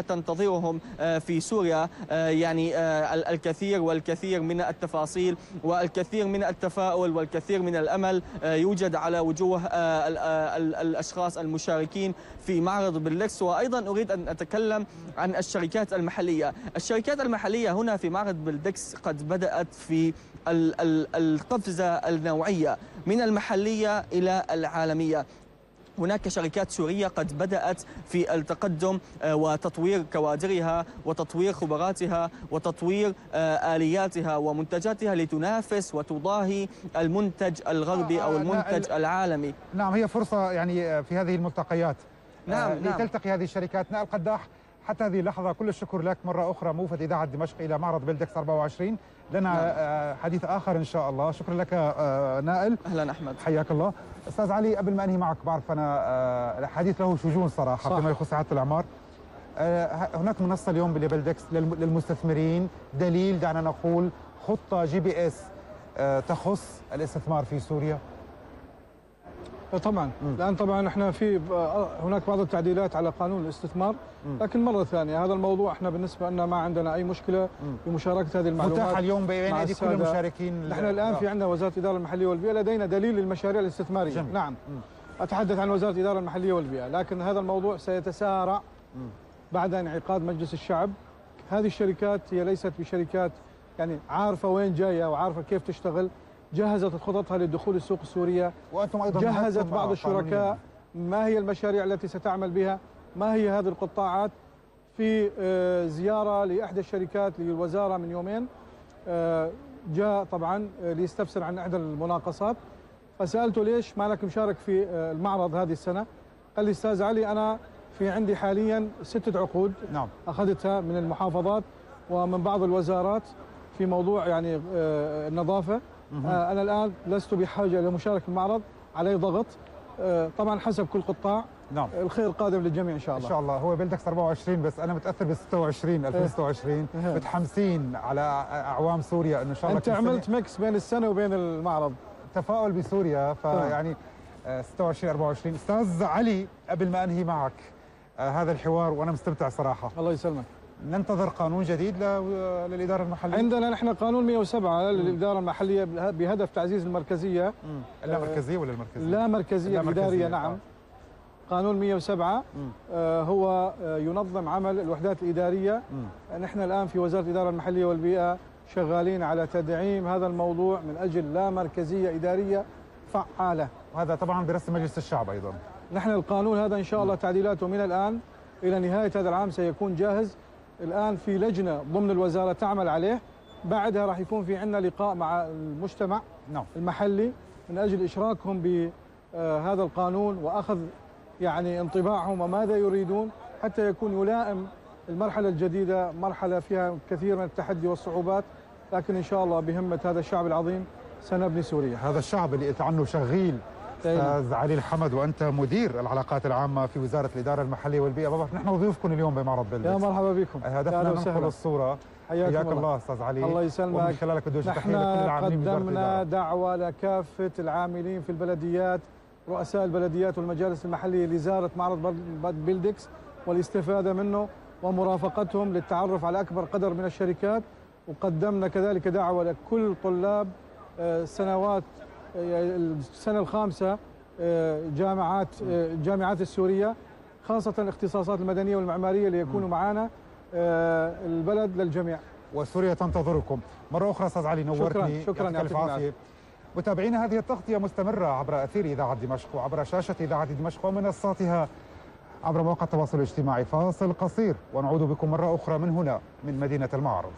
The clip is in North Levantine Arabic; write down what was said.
تنتظرهم في سوريا، يعني الكثير والكثير من التفاصيل والكثير من التفاؤل والكثير من الأمل يوجد على وجوه الأشخاص المشاركين في معرض بلدكس. وأيضا أريد أن أتكلم عن الشركات المحلية. الشركات المحلية هنا في معرض بلدكس قد بدأت في القفزة النوعية من المحلية إلى العالمية. هناك شركات سورية قد بدأت في التقدم وتطوير كوادرها وتطوير خبراتها وتطوير آلياتها ومنتجاتها لتنافس وتضاهي المنتج الغربي أو المنتج العالمي. نعم، هي فرصة يعني في هذه الملتقيات نعم لتلتقي هذه الشركات. نائل قداح، حتى هذه اللحظة كل الشكر لك مرة أخرى، موفد إذاعة دمشق إلى معرض بلدكس 24. لنا حديث آخر إن شاء الله. شكرا لك نائل. أهلا أحمد، حياك الله. أستاذ علي، قبل ما أنهي معك، بعرف أنا الحديث له شجون صراحة فيما يخص إعادة الأعمار. هناك منصة اليوم بلدكس للمستثمرين، دليل دعنا نقول خطة GPS تخص الاستثمار في سوريا. طبعا الان طبعا احنا في هناك بعض التعديلات على قانون الاستثمار، لكن مره ثانيه هذا الموضوع احنا بالنسبه لنا ما عندنا اي مشكله بمشاركه هذه المعلومات متاحه اليوم بين ايدي كل المشاركين. نحن الان في عندنا وزاره الاداره المحليه والبيئه، لدينا دليل للمشاريع الاستثماريه. جميل. نعم. اتحدث عن وزاره الاداره المحليه والبيئه، لكن هذا الموضوع سيتسارع بعد انعقاد مجلس الشعب. هذه الشركات هي ليست بشركات يعني عارفه وين جايه وعارفه كيف تشتغل، جهزت خططها للدخول السوق السورية، وأنتم أيضا جهزت بعض الشركاء ما هي المشاريع التي ستعمل بها، ما هي هذه القطاعات. في زيارة لإحدى الشركات للوزارة من يومين، جاء طبعا ليستفسر عن إحدى المناقصات، فسألته ليش ما لك مشارك في المعرض هذه السنة؟ قال لي أستاذ علي أنا في عندي حاليا 6 عقود نعم أخذتها من المحافظات ومن بعض الوزارات في موضوع يعني النظافة. أنا الآن لست بحاجة لمشاركة المعرض، علي ضغط طبعا حسب كل قطاع. نعم. الخير قادم للجميع إن شاء الله. إن شاء الله. هو بلدكس 24 بس أنا متأثر ب 26 2026 متحمسين على أعوام سوريا إنه إن شاء الله. أنت عملت ميكس بين السنة وبين المعرض، تفاؤل بسوريا، فيعني 26 24. أستاذ علي، قبل ما أنهي معك هذا الحوار وأنا مستمتع صراحة، الله يسلمك، ننتظر قانون جديد للإدارة المحلية؟ عندنا نحن قانون 107 للإدارة المحلية بهدف تعزيز المركزية. اللامركزية ولا المركزية؟ لا مركزية الإدارية. نعم. قانون 107 هو ينظم عمل الوحدات الإدارية. نحن الآن في وزارة الإدارة المحلية والبيئة شغالين على تدعيم هذا الموضوع من أجل لا مركزية إدارية فعالة. وهذا طبعا برسم مجلس الشعب أيضا. نحن القانون هذا إن شاء الله تعديلاته من الآن إلى نهاية هذا العام سيكون جاهز. الآن في لجنة ضمن الوزارة تعمل عليه، بعدها راح يكون في عندنا لقاء مع المجتمع المحلي من أجل إشراكهم بهذا القانون وأخذ يعني انطباعهم وماذا يريدون حتى يكون يلائم المرحلة الجديدة، مرحلة فيها كثير من التحدي والصعوبات، لكن إن شاء الله بهمة هذا الشعب العظيم سنبني سوريا. هذا الشعب اللي قلت عنه شغيل أستاذ علي الحمد، وأنت مدير العلاقات العامة في وزارة الإدارة المحلية والبيئة. بابا نحن ضيوفكم اليوم بمعرض بلدكس. يا مرحبا بكم. هدفنا ننقل الصورة. حياك الله أستاذ علي. الله يسلمك. ومن خلالك بدي نحن قدمنا دعوة لكافة العاملين في البلديات، رؤساء البلديات والمجالس المحلية لزيارة معرض بلدكس والاستفادة منه ومرافقتهم للتعرف على أكبر قدر من الشركات. وقدمنا كذلك دعوة لكل طلاب السنة الخامسة جامعات السورية، خاصة الاختصاصات المدنية والمعمارية، ليكونوا معنا. البلد للجميع وسوريا تنتظركم. مرة أخرى أستاذ علي نورتني. شكرا يعطيك العافية. متابعينا، هذه التغطية مستمرة عبر أثير إذاعة دمشق وعبر شاشة إذاعة دمشق ومنصاتها عبر مواقع التواصل الاجتماعي. فاصل قصير ونعود بكم مرة أخرى من هنا من مدينة المعرض.